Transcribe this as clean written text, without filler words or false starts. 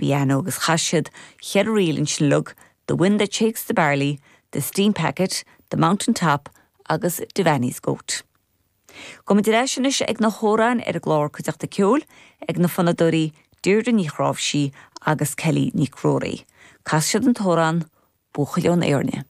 an bpianó agus chas siad cheithre ríl ansin uilig, The Wind That Shakes the Barley, The Steam Packet, The Mountain Top agus Devaney's Goat. Gabhfaidh muid ar ais anois ag na hamhráin ar an gclár Cuideachta Ceoil ag na fonnadóirí Deirdre Ní Chnáimhsí agus Kelly Nic Ruairí. Casfaidh siad an t-amhrán Buachaill ón Éirne.